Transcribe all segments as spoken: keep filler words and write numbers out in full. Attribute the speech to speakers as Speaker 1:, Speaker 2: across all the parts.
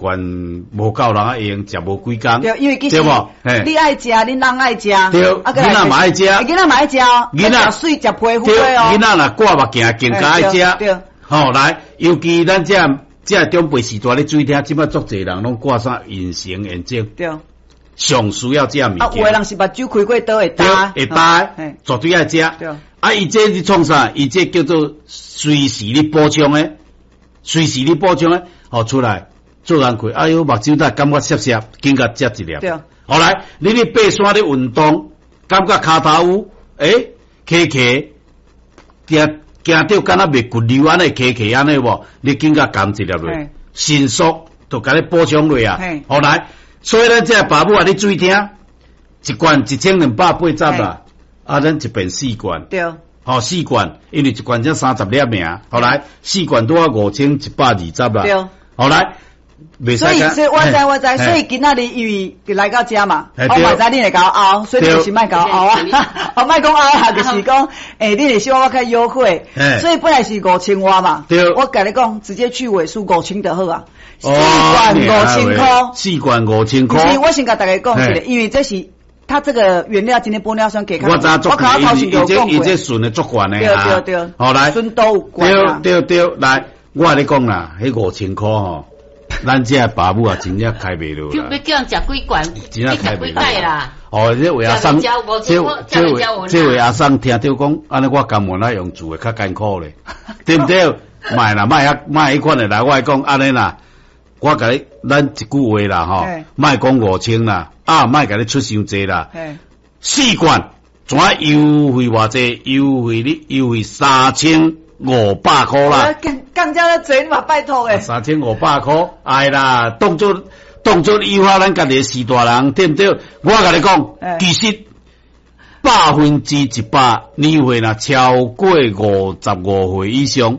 Speaker 1: 罐無夠人會用食無幾工，
Speaker 2: 對，因為其實
Speaker 1: 對無？嘿
Speaker 2: 你愛食，恁翁愛食，
Speaker 1: 對
Speaker 2: 啊，
Speaker 1: 囡仔嘛愛食
Speaker 2: 囡仔嘛愛食哦，
Speaker 1: 囡仔
Speaker 2: 食媠食皮膚
Speaker 1: 對，
Speaker 2: 的哦，
Speaker 1: 囡仔若掛目鏡更加愛食。
Speaker 2: 對，
Speaker 1: 吼，來，尤其咱這這長輩時代咧注意聽，這擺足濟人攏掛啥隱形眼鏡，
Speaker 2: 對，
Speaker 1: 上需要這物
Speaker 2: 啊，
Speaker 1: 件。
Speaker 2: 有的人是目睭開過刀會
Speaker 1: 對
Speaker 2: 焦，
Speaker 1: 會焦，
Speaker 2: 嘿
Speaker 1: 絕對愛食。
Speaker 2: 對
Speaker 1: 啊，伊這是創啥？伊這叫做隨時咧補充的，隨時咧補充的，吼出來做工課，哎喲，目睭才感覺澀澀，緊共食一粒。
Speaker 2: 對
Speaker 1: 後來你咧爬山咧運動，感覺跤頭有，欸，起起，行行著敢若袂骨溜按呢，起起按呢無？你緊共含一粒落
Speaker 2: 嘿，
Speaker 1: 迅速就共你補充落啊
Speaker 2: 嘿。
Speaker 1: 後來，所以咱這爸母啊，你注意聽，一罐一千兩百八十啦，啊，咱一遍四罐。
Speaker 2: 對，
Speaker 1: 吼，四罐，因為一罐才三十粒爾，後來四罐拄仔五千一百二十啦。
Speaker 2: 對。
Speaker 1: 後來，袂使
Speaker 2: 所以，所以我知我知，
Speaker 1: 嘿
Speaker 2: 所以今仔日因為來到遮嘛，
Speaker 1: 嘿對
Speaker 2: 我嘛知你會共我拗，所以你就是莫共我拗啊，我莫講拗啊，就是講，欸，你會希望我較優惠
Speaker 1: 嘿，
Speaker 2: 所以本來是五千外嘛
Speaker 1: 對，
Speaker 2: 我共你講，直接去尾數五千就好啊，四
Speaker 1: 哦
Speaker 2: 罐五千箍，
Speaker 1: 四罐五千箍。
Speaker 2: 不是，我先共大家講一
Speaker 1: 嘿
Speaker 2: 下，因為這是它這個原料今天玻尿酸給
Speaker 1: 我知足
Speaker 2: 我頭頭前
Speaker 1: 伊這
Speaker 2: 就講過，
Speaker 1: 伊這純的足懸的
Speaker 2: 對
Speaker 1: 啊。
Speaker 2: 對對，
Speaker 1: 好來，
Speaker 2: 純度有懸啊，
Speaker 1: 對對對，來，我共你講啦，彼五千箍吼，咱這爸母啊，真正開袂落啦
Speaker 3: 叫欲叫人食幾罐，
Speaker 1: 真正
Speaker 3: 欲食
Speaker 1: 開袂落
Speaker 3: 幾擺啦。
Speaker 1: 哦，這位阿桑，
Speaker 3: 食袂
Speaker 1: 這
Speaker 3: 食五
Speaker 1: 這位
Speaker 3: 食袂
Speaker 1: 這位阿桑聽著講，按呢我甘願愛用住的較艱苦咧，對毋對？莫啦，莫遐莫彼款的來，我講按呢啦，我共你，咱一句話啦吼
Speaker 2: 嘿，
Speaker 1: 莫講五千啦，啊，莫共你出傷濟啦，
Speaker 2: 嘿，
Speaker 1: 四罐怎優惠偌濟？優惠你優惠三千五百箍啦。
Speaker 2: 降降遮濟，你嘛拜託的，
Speaker 1: 三千五百箍，哎啦，當作當作優化咱家己的序大人，對毋對？我共你講
Speaker 2: 欸，
Speaker 1: 其實百分之一百年歲若超過五十五歲以上，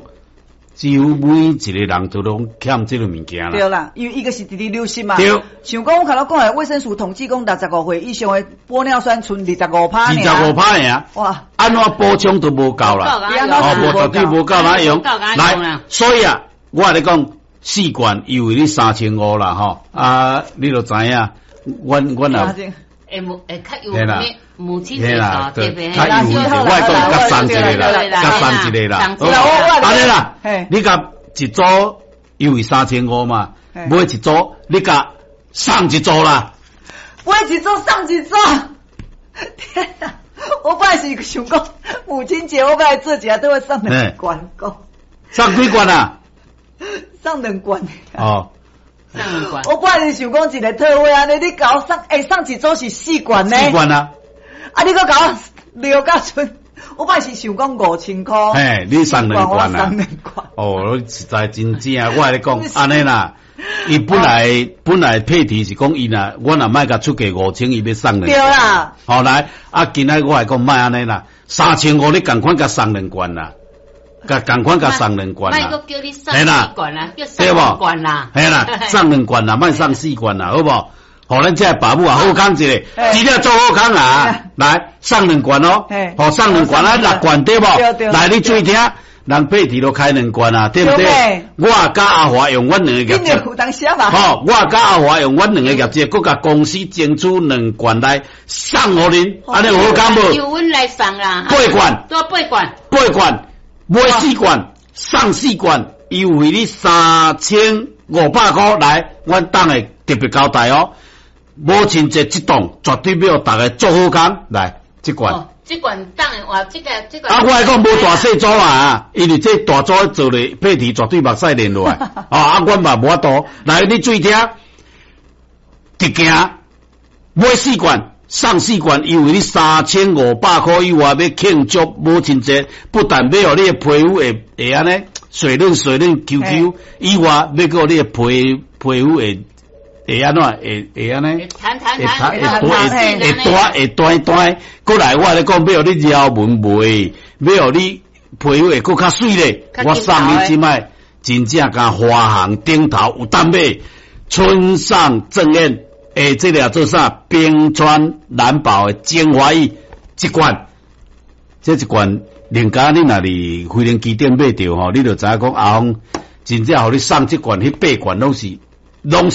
Speaker 1: 幾乎每一個人都攏欠這個物件啦。
Speaker 2: 對啦，因為伊個是直直流失嘛。
Speaker 1: 對。
Speaker 2: 像講我頭先講的，衛生署統計講，六十五歲以上的玻尿酸賰二十五趴
Speaker 1: 二十五趴爾，
Speaker 2: 哇！
Speaker 1: 按怎補充都無夠啦。哦，無絕對無夠哪用。來，所以啊，我共你講，四罐優惠你三千五啦，吼啊，你就知影，阮阮也。
Speaker 3: 會母會較優惠，母親節
Speaker 1: 啦，
Speaker 3: 特別
Speaker 1: 較優惠，我講較送一個啦，較送一個啦，好，按呢啦，你共一組優惠三千五嘛，買一組，你共送一組啦，
Speaker 2: 買一組送一組，天哪！我本來是想講母親節，我本來做一下都會送兩罐，講
Speaker 1: 送幾罐啊？
Speaker 2: 送兩罐。
Speaker 1: 哦。
Speaker 2: 我本來是想講一個特惠按呢，你共我送，欸，送一組是四罐呢。
Speaker 1: 四罐啊！
Speaker 2: 啊，你閣共我留甲賰，我本來是想講五千箍。
Speaker 1: 嘿，你送兩罐啊？
Speaker 2: 送兩罐。
Speaker 1: 哦，實在真正，我共你講，按呢啦，伊本來本來配題是講伊若我若莫共出價五千，伊欲送兩。
Speaker 2: 對啦。
Speaker 1: 好來，啊，今仔我來講莫按呢啦，三千五你仝款共送兩罐啦。共仝款共送兩罐啦，
Speaker 3: 莫閣叫你送四罐啦，叫送兩罐啦，
Speaker 1: 嘿啦，送兩罐啦，莫送四罐啦，好無？予咱這爸母啊好康一下，真正做好康啊！來送兩罐哦，予送兩罐啊，六罐對無？來你注意聽，人配置都開兩罐啊，對毋對？我佮阿華用阮兩个業績，吼，我佮阿華用阮兩个業績，閣共公司爭取兩罐來送予恁，按呢有好康無？
Speaker 3: 由阮來送啦，
Speaker 1: 八罐，
Speaker 3: 多八罐，
Speaker 1: 八罐。買四罐送四罐，優惠你三千五百箍來，阮等下特別交代哦。母親節這檔絕對欲予逐家做好康，來這罐。
Speaker 3: 哦，這罐當的話，這個這個。
Speaker 1: 啊，我來講無大細組啊，因為這大組做咧配置絕對目屎連落來。哦，啊，阮嘛無法度。來，你注意聽，直行買四罐。送四罐，優惠你三千五百箍以外，欲慶祝母親節，不但欲予你的皮膚會會按呢水潤水潤 Q Q，以外欲閣予你的皮皮膚會會按怎會會按呢？
Speaker 3: 會彈彈
Speaker 1: 會會會彈會彈彈，閣來我共你講，欲予你腰紋袂，欲予你皮膚會閣較媠咧。我送你這擺真正共華航頂頭有當買，村上正彥。欸，這个做啥？冰川藍寶的精華液一罐，這一罐，另加你若佇飛行機頂買著吼，你就知影講阿峰真正予你送這罐，彼八罐攏是攏是。